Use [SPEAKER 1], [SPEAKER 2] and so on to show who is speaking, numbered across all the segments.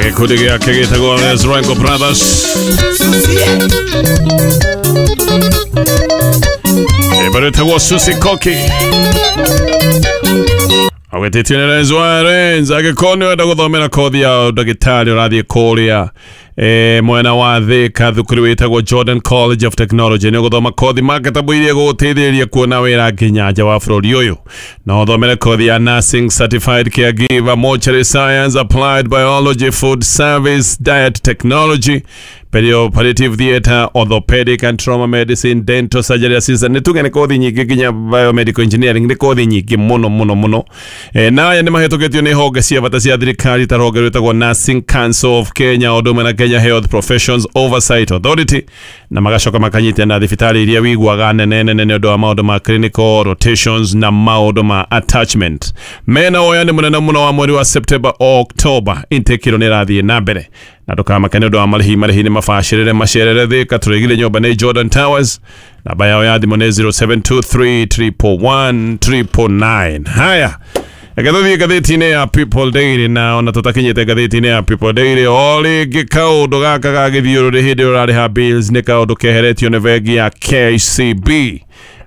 [SPEAKER 1] Gĩkundi gĩake gĩtagwo Les Rengo Brothers. Rwĩmbo rwĩtagwo Susi Koki. Agwĩtĩtio nĩ Renzo wa Renz. Angĩkorwo nĩ ũrenda gũthomera kothi ya ndagĩtarĩ ũrathiĩ kũrĩa mwena wa Thika thukuru wĩtagwo Jordan College of Technology nĩ ũgũthoma kothi marketable iria ĩgũgũteithĩrĩria kuona wĩra nginya nja wa bũrũri ũyũ. No ũthomere kothi ya nursing, certified caregiver, mortuary science, applied biology, food service, diet technology, perioperative theatre, orthopedic and trauma medicine, dental surgery assistant. Nĩ tuge nĩ kothi nyingĩ nginya biomedical engineering nĩ kothi nyingĩ mũno mũno mũno. Na aya nĩ mahĩtũkĩtio nĩ honge cia bata cia thirikari ta rũhonge rwĩtagwo Nursing Council of Kenya o ũndũ ũmwe na Kenya Health Professions Oversight Authority, na magacoka makanyitia na thibitarĩ iria wiguaga nene nene nĩ ũndũ wa maũndũ ma clinical rotations na maũndũ ma attachment. Mena woyani mũnene mũno wa mweri wa September o October. Intake ĩno nĩ ĩrathiĩ na mbere na ndũkamake nĩ ũndũ wa marĩhi. Marĩhi nĩ mabacĩrĩre macerere Thika tũrĩgire nyũmba nĩ Jordan Towers. Namba yao ya thimũ nĩ 0723 111 999. Haya, reke tũthiĩ ngathĩti-inĩ ya People Daily, na ona tũtakinyĩte ngathĩti-inĩ ya People Daily o rĩngĩ kaũndũ gaka ga gĩthiũrũrĩ hĩndĩ ĩrĩa ũrarĩha bills nĩ kaũndũ keheretio nĩ bengi ya KCB.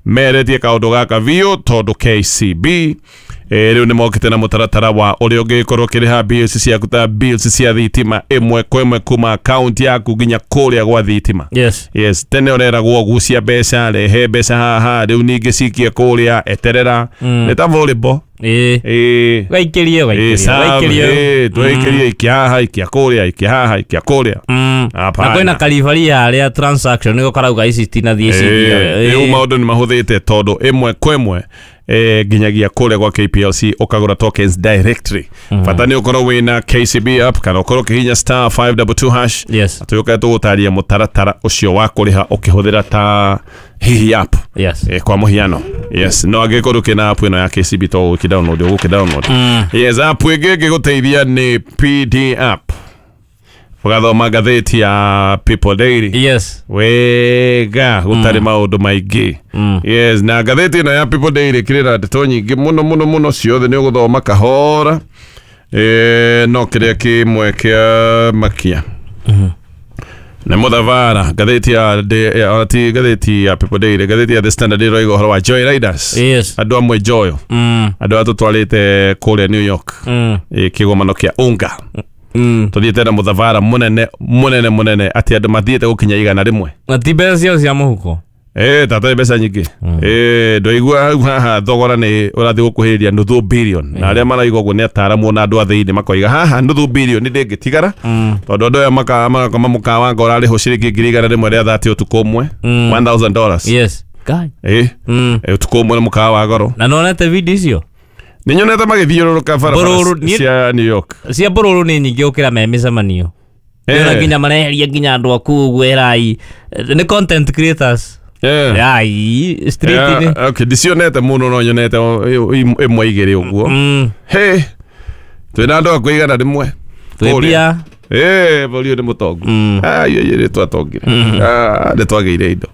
[SPEAKER 1] Meretie kaũndũ gaka biũ tondũ KCB rĩu nĩ mokĩte na mũtaratara wa ũrĩa ũngĩkorwo ũkĩrĩha bills ciaku ta bills cia thitima ĩmwe kwa ĩmwe kuma akaunti yaku nginya kũrĩa gwa thitima.
[SPEAKER 2] Yes.
[SPEAKER 1] Yes, tene ũreragwo gucia mbeca, rehe mbeca haha, rĩu ningĩ cikie kũrĩa, eterera. Nĩ ta volleyball.
[SPEAKER 2] Ĩĩ.
[SPEAKER 1] Ĩĩ.
[SPEAKER 2] Waikĩrie,
[SPEAKER 1] Ĩĩ,
[SPEAKER 2] waikĩrie,
[SPEAKER 1] serve,
[SPEAKER 2] waikĩrie.
[SPEAKER 1] ĩĩ, twaikĩrie ikia haha, ikia kũrĩa, ikia haha, ikia kũrĩa.
[SPEAKER 2] Na
[SPEAKER 1] Hapana.
[SPEAKER 2] kwĩna karibari harĩa transaction nĩgo karauga ici itinathiĩ
[SPEAKER 1] Ĩĩ,
[SPEAKER 2] cithiĩ.
[SPEAKER 1] rĩu maũndũ nĩ mahũthĩte tondũ ĩmwe kwa ĩmwe nginyagia kũrĩa gwa KPLC ũkagũra tokens directly. Bata nĩ ũkorwo wĩna KCB app kana ũkorwo ũkĩhihinya star 522 hash.
[SPEAKER 2] Yes.
[SPEAKER 1] Tũyũke tũgũtaria mũtaratara ũcio wa kũrĩha ũkĩhũthĩra ta hihi app.
[SPEAKER 2] Yes.
[SPEAKER 1] Kwa mũhiano, yes, no angĩkorwo ũkĩna app ĩno ya KCB to ũgũkĩ download ũgũkĩ download. Yes, app ĩngĩ ĩngĩgũteithia nĩ PD app. Ũgathoma ngathĩti ya People Daily
[SPEAKER 2] Yes.
[SPEAKER 1] wega gũtarĩ maũndũ maingĩ. Yes, na ngathĩti ĩno ya People Daily kĩrĩ na ndeto nyingĩ mũno mũno mũno, ciothe nĩ ũgũthoma kahora. No kĩrĩa kĩmwe kĩa makia nĩ mũthabara ngathĩti ya ona ti ngathĩti ya People Daily, ngathĩti ya The Standard ĩroiga ũhoro wa Joy Riders.
[SPEAKER 2] Yes.
[SPEAKER 1] Andũ amwe Joyo, andũ arĩa tũtwarĩte kũrĩa New York, kĩgomano kĩa UNGA. Tũthiĩte na mũthabara mũnene mũnene mũnene atĩ andũ mathiĩte gũkinya 100.
[SPEAKER 2] Na ti mbeca ciao cia mũhuko.
[SPEAKER 1] Tata mbeca nyingĩ. Ndoigua hau haha thogora nĩ ũrathiĩ gũkuhĩrĩria nuthu billion, na arĩa maraigua ũguo nĩ ataramu na andũ a thĩinĩ makoiga haha nuthu billion ndĩngĩtigara tondũ andũ aya magakoma mũkawa nga ũrarĩhwo ciringi 130 rĩa thati ũtukũ ũmwe, $1000.
[SPEAKER 2] Yes. Guy.
[SPEAKER 1] Ũtukũ ũmwe nĩ mũkawa wa goro.
[SPEAKER 2] Na nonete video icio
[SPEAKER 1] Nĩ nyonete magĩthiũrũrũka barabara
[SPEAKER 2] Mbũrũrũ,
[SPEAKER 1] cia New York.
[SPEAKER 2] Cia mbũrũrũ nĩ nyingĩ gũkĩra me mĩcemanio. Nĩona nginya mareheria nginya andũ aku ũguo erai nĩ content creators. Ai street-inĩ.
[SPEAKER 1] Yeah, okay, ndicionete mũno no nyonete ĩmwe igĩrĩ ũguo. Hey, twĩna andũ akuo 100.
[SPEAKER 2] Twĩ mbia.
[SPEAKER 1] Bũrũri ũyũ nĩ mũtongu. Ai, ai, nĩ twatongire. Nĩ twagĩire indo.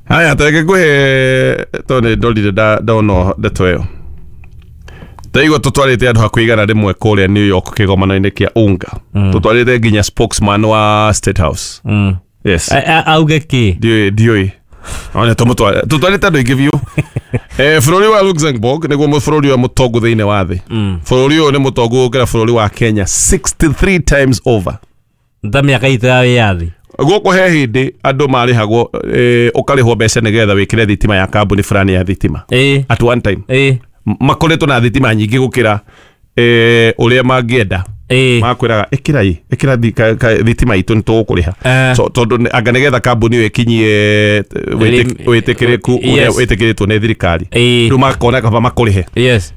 [SPEAKER 1] Haya, tareke ngũhe tondũ nĩ ndorire ndona ndeto ĩyo. Ndaigua tũtwarĩte andũ hakuhĩ 100 kũrĩa New York kĩgomano-inĩ kĩa UNGA. Tũtwarĩte nginya spokesman wa State House. Yes.
[SPEAKER 2] Auge kĩ?
[SPEAKER 1] Ndiũĩ, ndiũĩ. Ona tũtwarĩte andũ aingĩ biũ. Bũrũri wa Luxembourg nĩguo bũrũri ũrĩa mũtongu thĩinĩ wa thĩ. Bũrũri ũyũ nĩ mũtongu gũkĩra bũrũri wa Kenya 63 times over.
[SPEAKER 2] Ta mĩaka itũ ya wĩyathi.
[SPEAKER 1] Gũkũ he hĩndĩ andũ marĩhagwo, ũkarĩhwo mbeca nĩgetha wĩkĩre thitima ya kambuni fulani ya thitima. At one time. Makoretwo na thitima nyingĩ gũkĩra ũrĩa mangĩenda. Makwĩraga ĩkĩra ĩ, ĩkĩra thitima itũ nĩ tũgũkũrĩha. So, tondũ anga nĩgetha kambuni ĩyo ĩkinyie wĩtĩkĩrĩku ũrĩa wĩtĩkĩrĩtwo nĩ thirikari. Rĩu makona kaba makũrĩhe.
[SPEAKER 2] Yes.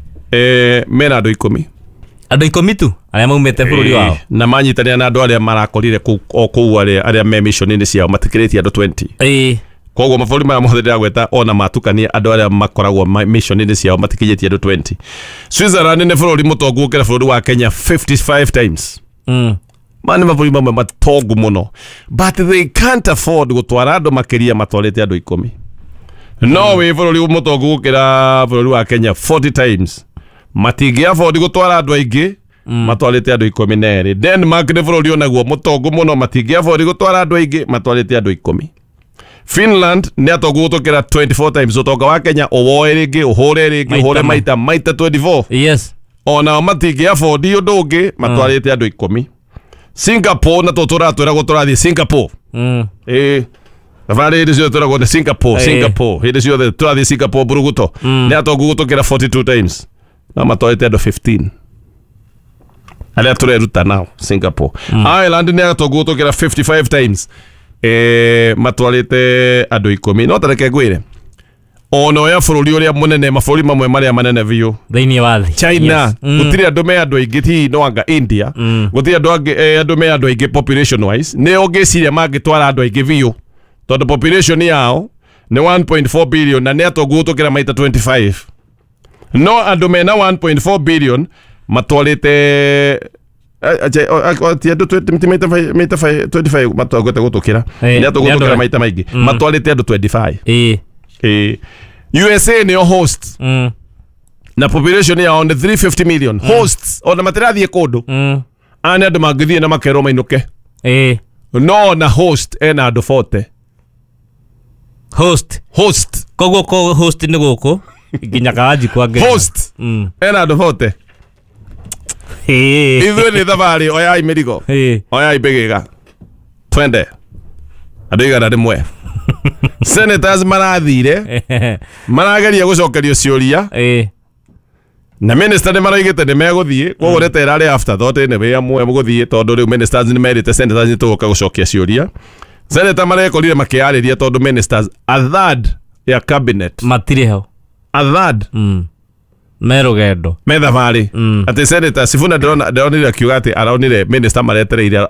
[SPEAKER 1] Mena andũ 10.
[SPEAKER 2] Andũ 10 tu arĩa maumĩte bũrũri wao.
[SPEAKER 1] Na manyitanĩra na andũ arĩa marakorire kũu o kũu arĩa me mission-inĩ ciao matikĩrĩtie andũ 20. Koguo mabũrũri maya mothe ndĩragweta ona matukania andũ arĩa makoragwo mission-inĩ ciao matikinyĩtie andũ 20. Switzerland nĩ bũrũri mũtongu gũkĩra bũrũri wa Kenya 55 times. Maya nĩ mabũrũri mamwe matongu mũno, but they can't afford gũtwara andũ makĩria matwarĩte andũ 10. No wĩ bũrũri mũtongu gũkĩra bũrũri wa Kenya 40 times, matingĩ afford gũtwara andũ aingĩ. Matwarĩte andũ 12. Denmark nĩ bũrũri onaguo mũtongu mũno, matingĩabori gũtwara andũ aingĩ, matwarĩte andũ 10. Finland nĩ atongu gũtũkĩra 24 times ũtonga wa Kenya, ũwoe rĩngĩ, ũhũre rĩngĩ, ũhũre maita 24.
[SPEAKER 2] Yes.
[SPEAKER 1] Onao matingĩabondi ũndũ ũngĩ, matwarĩte andũ 10. Singapore na tũtũratwĩragwo tũrathiĩ Singapore. Thabarĩ hĩndĩ ciothe twĩragwo nĩ Singapore, Singapore hĩndĩ ciothe tũrathiĩ Singapore buruguto. Nĩ atongu gũtũkĩra 42 times, no matwarĩte andũ 15 arĩa tũreruta nao Singapore. Ireland nĩ atongu gũtũkĩra 55 times, matwarĩte andũ 10. No tareke ngwĩre, ona oya bũrũri ũrĩa mũnene, mabũrũri mamwe marĩa manene biũ
[SPEAKER 2] thĩinĩ wa thĩ,
[SPEAKER 1] China, gũtirĩ andũ me andũ aingĩ, hihi no anga India, gũtirĩ andũ angĩ andũ me andũ aingĩ population wise. Nĩ ũngĩciria mangĩtwara andũ aingĩ biũ, tondũ population yao nĩ 1.4 billion na nĩ atongu gũtũkĩra maita 25. No andũ mena 1.4 billion matwarĩte ti andũ maita 25 matwagwete gũtũkĩra, nĩ atongu gũtũkĩra maita maingĩ, matwarĩte andũ 25. USA nĩyo host na population yao nĩ 350 million. Hosts ona matirathiĩ kũndũ, aya nĩ andũ mangĩthiĩ na makerwo mainũke. No na host ena andũ 40.
[SPEAKER 2] Host.
[SPEAKER 1] Host.
[SPEAKER 2] Koguo ko host nĩ gũkũ nginya kawanji kwa Ngeretha.
[SPEAKER 1] Host ena andũ 40. Ithuĩ nĩ thabarĩ, oyai mĩrigo, oyai mbĩgĩga, twende andũ 100. Senators marathire marageria gũcokerio ciũria na minister nĩ maraigĩte nĩ megũthiĩ, koguo nĩ ta ĩrarĩ afterthought nĩ wĩ amwe gũthiĩ, tondũ rĩu ministers nĩ merĩte senators nĩ tũgũka gũcokia ciũria. Senator marekorire makĩarĩria tondũ ministers a third ya cabinet
[SPEAKER 2] matirĩ ho,
[SPEAKER 1] a third
[SPEAKER 2] me rũgendo,
[SPEAKER 1] me thabarĩ. Atĩ Senator Sifuna ndĩronire akiuga atĩ aronire minister maretereire,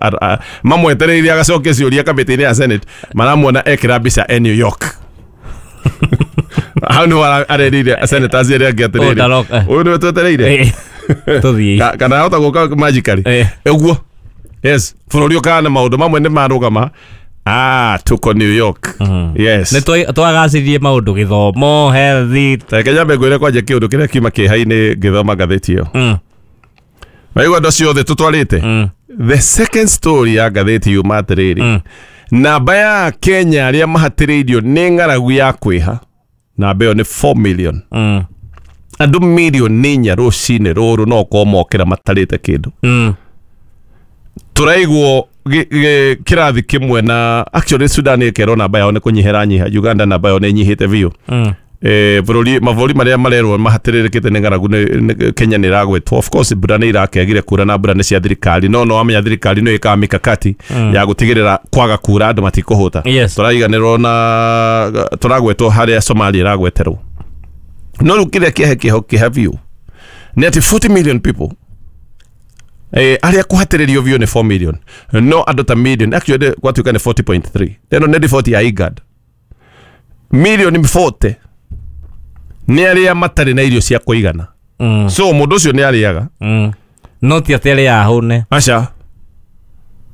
[SPEAKER 1] mamwetereire agacokia ciũria kamĩtĩ-inĩ ya Senate, maramuona ekĩra mbica e New York. Hau nĩho arerire senators arĩa angĩ atĩrĩrĩ, ũyũ nĩwe twetereire
[SPEAKER 2] tũthiĩ,
[SPEAKER 1] kana ahota gũka magically ũguo. Yes, bũrũri ũkaga na maũndũ mamwe nĩ marũgama. Tuko New York. Yes.
[SPEAKER 2] Nĩ twagacĩririe maũndũ, gĩthomo, health.
[SPEAKER 1] Reke nyambe ngwĩre kwanja kĩũndũ kĩrĩa kiuma kĩeha-inĩ ngĩthoma ngathĩti ĩyo. Waigua andũ acio othe tũtwarĩte. The second story ya ngathĩti yuma atĩrĩrĩ, namba ya Kenya arĩa mahatĩrĩirio nĩ ng'aragu ya kwĩha, namba ĩyo nĩ 4 million. Andũ mirioni 4 rũcinĩ rũrũ no ũkorwo mokĩra matarĩte kĩndũ. Tũraigwo kĩrathi kĩmwe na actually Sudan ĩkerwo namba yao nĩ kũnyiha ĩranyiha, Uganda namba yao nĩ ĩnyihĩte biũ. Bũrũri mabũrũri marĩa marerwo mahatĩrĩrĩkĩte nĩ ng'aragu Kenya nĩ ĩragwetwo. Of course mbura nĩ irakĩagire kura na mbura nĩ cia thirikari, no wamenya thirikari nĩ ĩkaga mikakati ya gũtigĩrĩra kwaga kura andũ matikũhũta. Tũraiganĩrwo na tũragwetwo harĩa Somalia ĩragweterwo. No rĩu kĩrĩa kĩeha kĩha biũ nĩ atĩ 40 million people arĩa kũhatĩrĩrio biũ nĩ 4 million, no andũ ta million actually gwatuĩka nĩ 40.3. Ĩno nĩ riboti ya IGAD. Milioni 40 nĩ arĩa matarĩ na irio cia kũigana. So mũndũ ũcio nĩ arĩaga,
[SPEAKER 2] no ti atĩ arĩa ahũne,
[SPEAKER 1] aca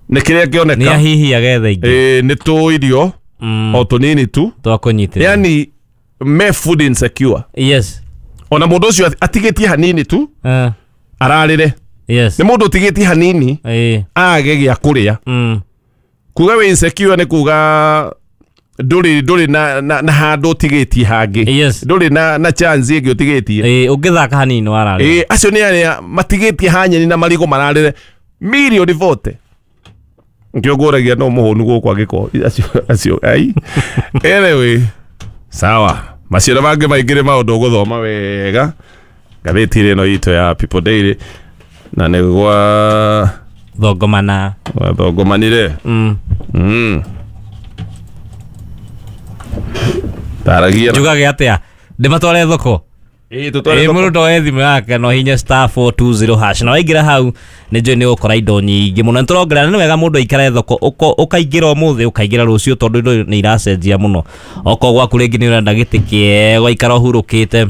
[SPEAKER 1] nĩ kĩrĩa kĩoneka,
[SPEAKER 2] nĩ ahihi agetha ingĩ,
[SPEAKER 1] nĩ tũ irio o tũnini tu
[SPEAKER 2] twa kũnyitĩrĩra,
[SPEAKER 1] yani me food insecure.
[SPEAKER 2] Yes.
[SPEAKER 1] Ona mũndũ ũcio atigĩtie hanini tu ararĩre.
[SPEAKER 2] Yes.
[SPEAKER 1] Nĩ mũndũ ũtigĩtie hanini age gĩa kũrĩa. Kuga wĩ insecure nĩ kuga ndũrĩ na handũ ũtigĩtie hangĩ.
[SPEAKER 2] Yes.
[SPEAKER 1] Ndũrĩ na chance ĩngĩ ũtigĩtie.
[SPEAKER 2] Ũngĩthaka hanini wararĩra.
[SPEAKER 1] Acio nĩ arĩa matigĩtie hanyeni na marigũ mararĩre mirioni 40. Nkĩo ngũragia no mũhũnu gũkũ angĩkorwo acio ai. Anyway, sawa. Macio mangĩ maingĩ nĩ maũndũ ũgũthoma wega ngathĩti ĩno itũ ya People Daily, na nĩ gwa
[SPEAKER 2] thongomana
[SPEAKER 1] thongomanire. Taragia
[SPEAKER 2] njugage atĩa ndĩmatware thoko. Mũndũ oe thimũ yake no hinya *420# na waingĩra hau nĩ njũĩ nĩ ũgũkora indo nyingĩ mũno. Nĩtũrongerera, nĩ wega mũndũ aikare thoko, ũkaingĩra ũmũthĩ ũkaingĩra rũciũ, tondũ indo nĩ iracenjia mũno. Okorwo gwaku rĩngĩ nĩ ũrenda gĩtĩ kĩega ũgaikara ũhurũkĩte,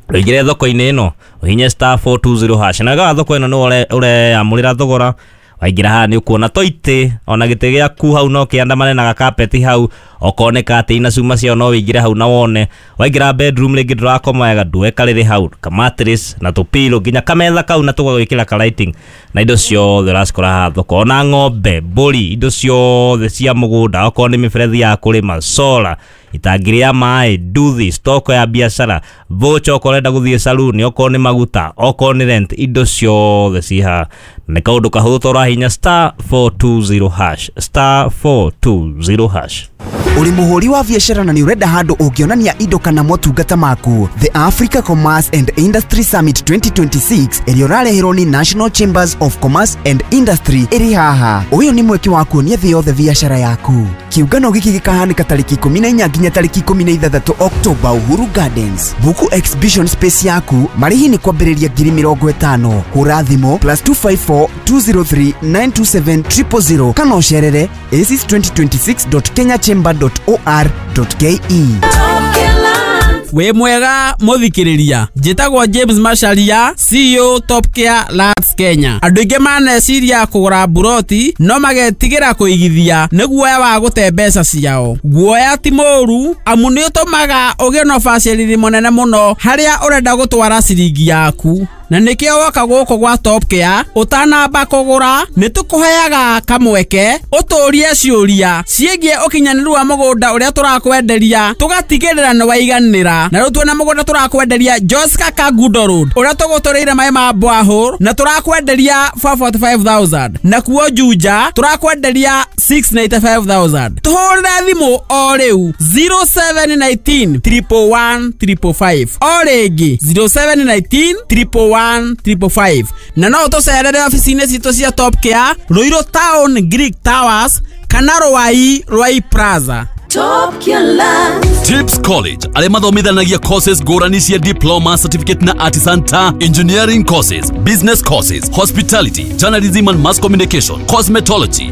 [SPEAKER 2] ũingĩre thoko-inĩ ĩno ũhinye *420# na wega wa thoko ĩno nĩ ũreyamũrĩra thogora, Waingĩra haha nĩ ũkuona toitĩ ona gĩtĩ gĩaku hau no kĩandamane na gakapeti hau, okorwo nĩ katĩ na cuma ciao no wĩingĩre hau na wone. Waingĩra bedroom rĩngĩ ndũrakoma wega, ndue karĩrĩ hau kamattress na tũpilo nginya kametha kau na tũgagwĩkĩra ka lighting na indo ciothe ũracikora haha thoko, ona ng'ombe, mbũri, indo ciothe cia mũgũnda, okorwo nĩ mĩberethi ya kũrĩma, solar, itangi rĩa maĩ, nduthi, stoko ya biacara, voucher okorwo ũrenda gũthiĩ saluni, okorwo nĩ maguta, okorwo nĩ rent, indo ciothe ci haha. Nĩ kaũndũ kahũthũ to ũrahihinya *420#, *420#.
[SPEAKER 3] Uri muhuri wa biacara na nĩ ũrenda handũ ũngĩonania indo kana motungata maku? The Africa Commerce and Industry Summit 2026 ĩrĩa ũrareherwo nĩ National Chambers of Commerce and Industry ĩrĩ haha. Ũyũ nĩ mweke wa kuonia thĩ yothe biacara yaku. Kiũngano gĩkĩ gĩkahanĩka tarĩki 14 nginya tarĩki 16 Oktoba, Uhuru Gardens. Buku exhibition space yaku, marĩhi nĩ kwambĩrĩria 50,000. Hũra thimũ +254 203 927 000 kana ũcerere aces2026.kenyachamber.or.ke.
[SPEAKER 4] Wĩ mwega mũthikĩrĩria, njĩtagwo James Macharia, CEO Top Care Lands Kenya. Andũ aingĩ maneciria kũgũra mburoti no magetigĩra kũigithia nĩ guoya wa gũte mbeca ciao. Guoya ti mũũru, amu nĩ ũtũmaga ũgĩe na ũbacĩrĩri mũnene mũno harĩa ũrenda gũtwara ciringi yaku, na nĩkĩo woka gũkũ gwa Top Care ũtanamba kũgũra nĩ tũkũheaga kamweke ũtũrie ciũria ciĩgiĩ ũkinyanĩru wa mũgũnda ũrĩa tũrakwenderia, tũgatigĩrĩra nĩ waiganĩra. Na rĩu twĩna mũgũnda tũrakwenderia Joska Kangundo Road ũrĩa tũgũtũrĩire maĩ ma borehole na tũrakwenderia 445,000, na kuo Juja tũrakwenderia 695,000. Tũhũrĩre thimũ o rĩu 0719 111 555, o rĩngĩ 0719 111 555, na no ũtũcerere obici-inĩ citũ cia Top Care, Ruiru Town, Greek Towers kana Ruai, Ruai Plaza.
[SPEAKER 5] Top Care Land.
[SPEAKER 6] Tips College arĩa mathomithanagia courses ngũrani cia diploma, certificate na artisan ta engineering courses, business courses, hospitality, journalism and mass communication, cosmetology.